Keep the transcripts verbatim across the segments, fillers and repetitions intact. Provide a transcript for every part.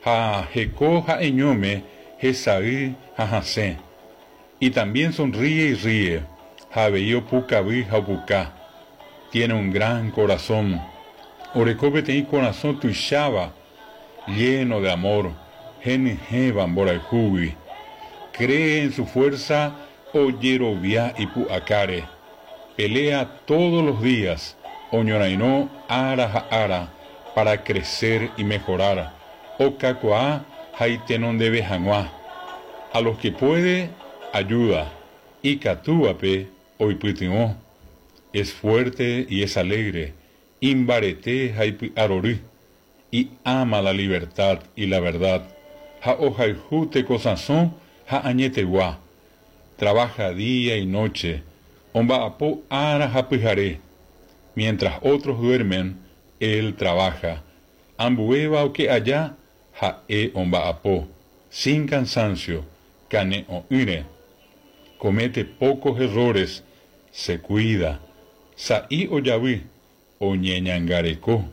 Ha heko ha'eñóme hesay ha hasẽ. Y también sonríe y ríe. Ha avei opukavy ha opuka. Tiene un gran corazón. Oreko peteĩ korasõ tuicháva, lleno de amor, henyhẽva mborayhúgui. Cree en su fuerza, ojerovia ipu'akáre. Pelea todos los días, oñorairõ ára ha ára, para crecer y mejorar, okakuaa ha itenondeve hag̃ua. A los que puede, ayuda, ikatúvape oipytyvõ. Es fuerte y es alegre, imbarete ha ipy'arory. Y ama la libertad y la verdad, ha ohayhu tekosãso ha añetegua. Trabaja día y noche, omba'apo ára ha pyhare. Mientras otros duermen, él trabaja. Ambuéva oke aja, ha'e omba'apo. Sin cansancio, kane'õ'ỹre. Comete pocos errores, se cuida. Sa'i ojavy, oñeñangareko.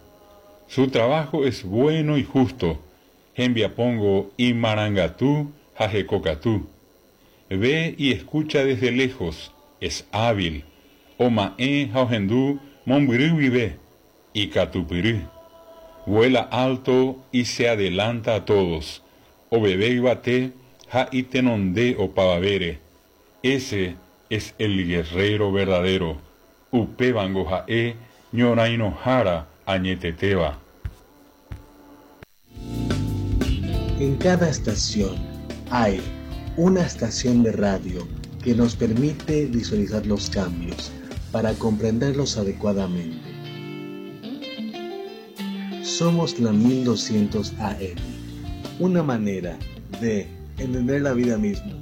Su trabajo es bueno y justo. Hembiapóngo imarangatu ha hekokatu. Ve y escucha desde lejos, es hábil. Oma'ẽ ha ohendu mombyry guive, ikatupyry. Vuela alto y se adelanta a todos. Oveve yvate ha itenonde opavavére. Ese es el guerrero verdadero. Upévango ha'e ñorairõhára añetetéva. En cada estación hay una estación de radio que nos permite visualizar los cambios para comprenderlos adecuadamente. Somos la mil doscientos A M, una manera de entender la vida misma.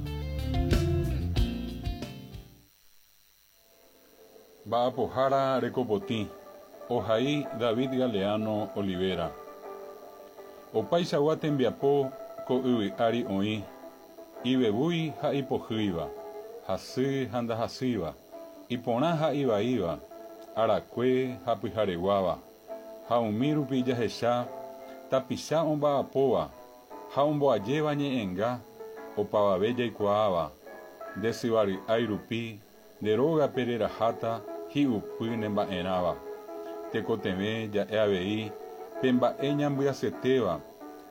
Mba'apohára rekopotĩ, ohai David Galeano Olivera. Opaichagua tembiapo ko yvy ári oĩ, ivevúi ha ipohýiva, hasy ha ndahasýiva, iporã ha ivaíva, arakue ha pyhareguáva, ha umi rupi jahecha tapicha omba'apóva ha omboajéva ñe'ẽnga opavave jaikuaáva, nde syvary'ái rupi nde rógape reraháta hi'upy nemba'erãva. Tekotevẽ ja'e avei pe mba'e ñambyasyetéva,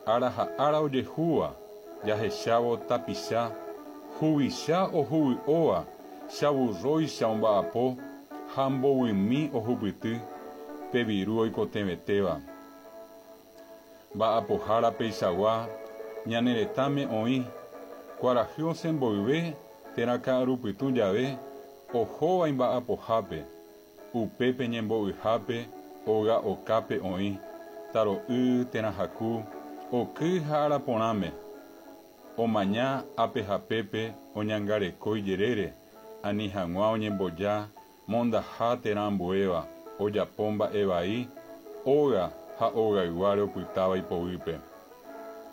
ára ha ára ojehúva, jahechávo tapicha, huvicha ohuvy'óva, chavurróicha omba'apo ha mbovymi ohupyty pe viru oikotevẽtéva. Mba'apohára peichagua ñane retãme oĩ, kuarahy osẽ mboyve térã ka'arupytũ jave ohóva imba'apohápe, upépe ñembo'yhápe óga okápe oĩ, taro'y térã haku, oky ha araporãme. Omaña ápe hapépe oñangareko ijerére, ani hag̃ua oñemboja mondaha térã ambuéva, ojapo mba'e vai, óga ha ogayguáre opytáva ipoguýpe.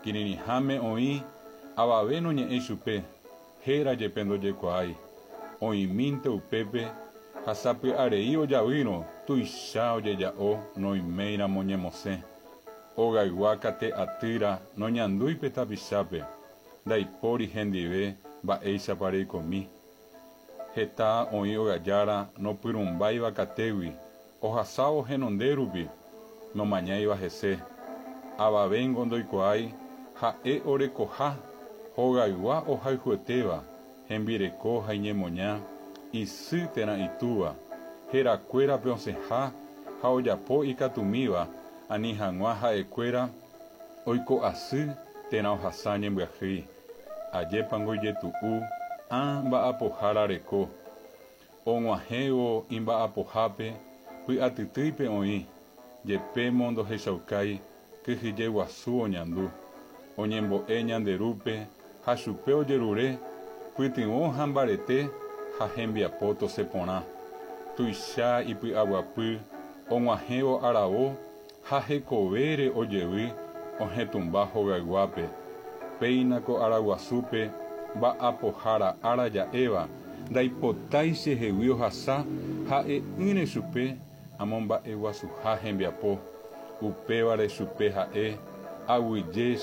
Kirirĩháme oĩ avave noñe'ẽi chupe, héra jepe ndojekuaái. Oĩmínte upépe ha sapy'arei ojavýrõ tuicha ojeja'o noiméiramo ñemosẽ. Ogaygua kate atýra noñandúi pe tapichápe, ndaipóri hendive mba'éichapa reikomi. Heta oĩ ogajára nopyrũmbáiva katégui, ohasávo henonde rupi, nomañáiva hese. Avavéngo ndoikuaái ha'e orekoha, hogaygua ohayhuetéva, hembireko ha iñemoña, isy térã itúva, herakuérape osẽha ha ojapo ikatumíva ani hag̃ua ha'ekuéra oiko asy térã ohasa ñembyahýi. Ajépango ijetu'u ã mba'apohára reko. Og̃uahẽvo imba'apohápe py'atytýipe oĩ, jepémo ndohechaukái kyhyje guasu oñandu. Oñembo'e ñanderúpe ha chupe ojerure pytyvõ ha mbarete ha hembiapo tosẽ porã. Tuicha ipy'aguapy og̃uahẽvo aravo ha hekovére ojevy ohetũmba hogayguápe. Péina ko araguasúpe mba'apohára ára ja'éva, ndaipotái chehegui ohasa ha'e'ỹre chupe amomba'eguasuha hembiapo. Upévare chupe ha'e aguyje che